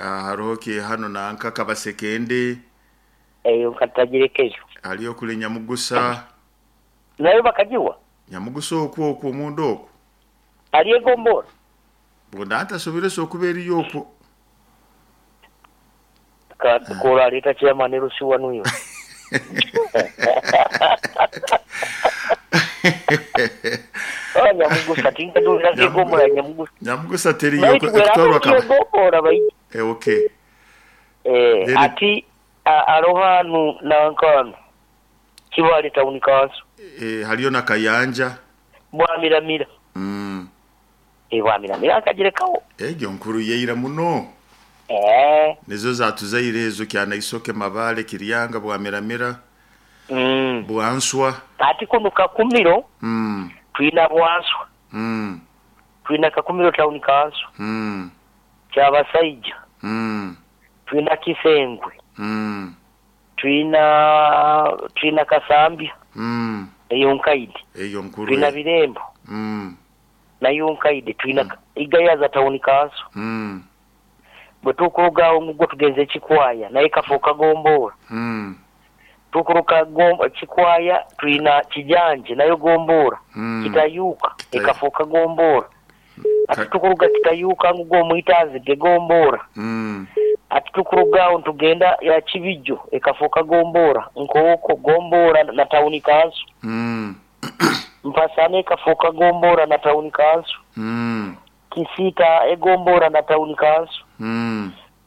Hariho ki hano nanka Kabasekende. Eyo nkatagirekeyo. Haliyo kule Nyamugusa. Nayo bakagiwa? Nyamugusa okwo okwo omunda okwo. Ali egombora? Bwona ntasobire so okuba eriyo okwo. Koraleeta chairman LC wanu iwe. Oh, Nyamugusa tinkadulira kegombora Nyamugusa. Nyamugusa teriyo ekutwarwa kaba. Egombora bai. Eh, okay. Eh, ati arohanu nankanu. Kibaale Town Council. Eh, haliyo na Kayanja. Bwamiramira. Eh, Bwamiramira akagirekawo. Egyo nkuru yeira muno. Eh. Nizo zatuzaire ezo Kyanaisoke, Mabale, Kiryanga, Bwamiramira. Bwanswa. Ati kuno Kakumiro. Twina Bwanswa. Twina Kakumiro Town Council. Kyabasaija. Twina Kisengwe. Twina Kasambya. Eyo nkaidi. Eyo nkuru. Twina Birembo. Nayo nkaidi. Twina Igayaza Town Council. Bwe tukuruga omuggo tugenze Kikwaya naye kafuuka gombora. Tukuruka Kikwaya twina Kijanje nayo gombora. Kitayuka ekafuuka gombora. Ati tukuruga Kitayuka ngugo omwitanzige gombora. Ati tukuruga awo ntugenda ya Kibijo ekafuuka gombora. Nkooko gombora na Town Council. Mpasane ekafuuka gombora na Town Council. Kisita egombora na Town Council.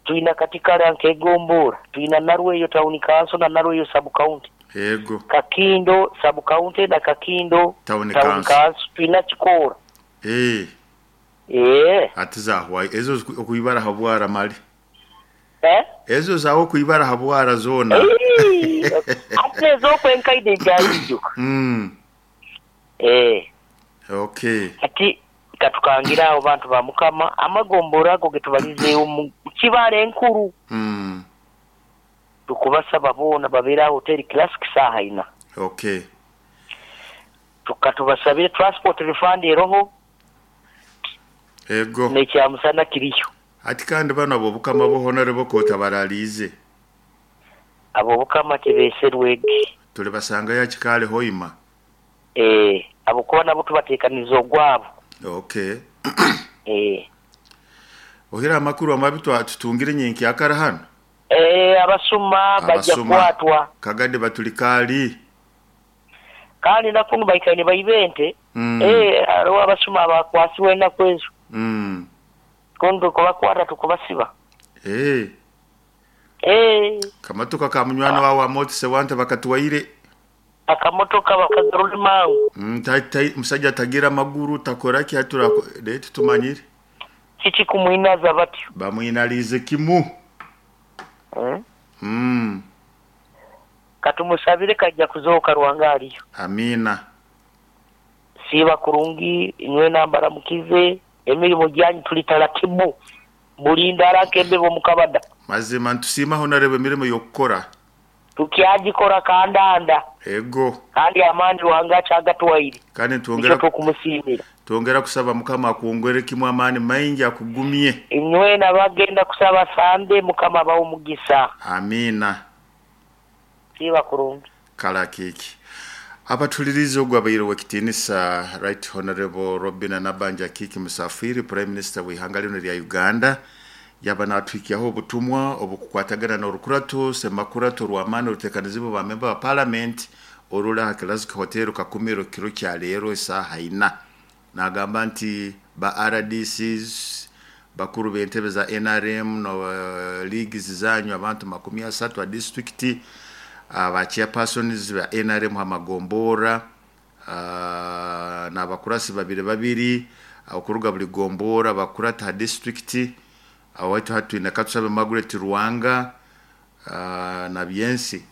Twina Katikara nkegombora. Twina Narweyo Town Council na Narweyo Sub County. Ego. Kakindo Sub County na Kakindo Town Council. Twina Kikora. Eh. Eh. Ati zahwa ezo okuibara habwara mali. Eh? Ezo zawo kuibara habwara zona. Ati ezo kwenkaide jayijo. Eh. Okay. Ati katukangira abo bantu ba Mukama amagombora ago getubalizeewo mu Kibaale enkulu. Tukubasaba boona babeera Hotel Classic saaha ina. Okay. Tukatubasabire transport refund eroho. Ego. Nekyamusana kiriyo. Ati kandi bano abo Bukama bo honorable kota baralize. Abo Bukama tebeserwege. Tuli basanga ya Kikale hoima. Eh, abo kuba nabo tubateekaniza ogwabo. Okay. Eh. Ohira amakuru amabi tutungire nyinki akara hano. Eh, abasuma bajja kwatwa. Kagade batulikali. Kandi nakunu baikaine baibente. Eh, aro abasuma abakwasiwe nakwezo. Kondo kubakwata tukubasiba. Eh. Eh. Kamatoka ka munywano wawe amotse wante bakatuwaire. Akamotoka bakagarura mangu. Musajja tagira maguru takora ki hatura letu tumanyire. Kiki kumwinaza batyo. Bamwinalize kimu. Katumusabire kajja kuzooka Ruhanga aliyo. Amina. Siba kurungi inywe nambara mukize emirimu gyanyu tuli taratibu. Bulinda arakembe bo mukabada. Mazima ntusima honorable emirimo yokukora. Tukyagikora kandanda. Ego. Kandi amani Ruhanga kyagatuwaire. Kandi tuongera kumusiimira. Tuongera kusaba Mukama akuongere kimwe amani maingi akugumye. Inywe nabagenda kusaba sande Mukama abawe omugisa. Amina. Siba kurungi. Kala kiki. Abatuliriza ogwabaire wekitinisa Right Honorable Robina Nabanja Kiki Musafiri, Prime Minister w'ihanga lino lya Uganda. Yaba natwikiyaho obutumwa obukukwatagana n'orukurato semakurato rw'amaani oruteekaniziibwe ba member wa parliament oruri aha Classic Hotel Kakumiro kiro kya leero esaaha ina. Nagamba nti ba RDCs bakuru b'entebe za NRM no leagues zanyu abantu 30 a district ba chairpersons ba NRM hamagombora n'abakurasi babiri babiri okuruga buli gombora bakurata district awaitu hatwine Katusabe Margaret Ruwanga na Byensi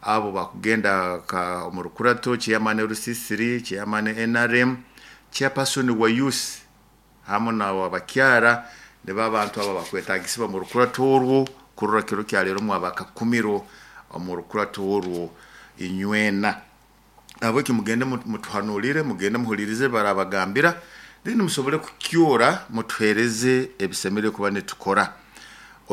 abo bakugenda ka omurukurato chairman RCC chairman NRM chairperson wa youth hamwe na abakyara ne babantu aba bakwetagisiba mu rukurato orwo kurora kiro kya leero mwabakakumiro mu rukurato orwo inywena abo kimugende mutuhanulire mugende muhulirize barabagambira then musobole kukyora mutuhereze ebisemere kuba netukora.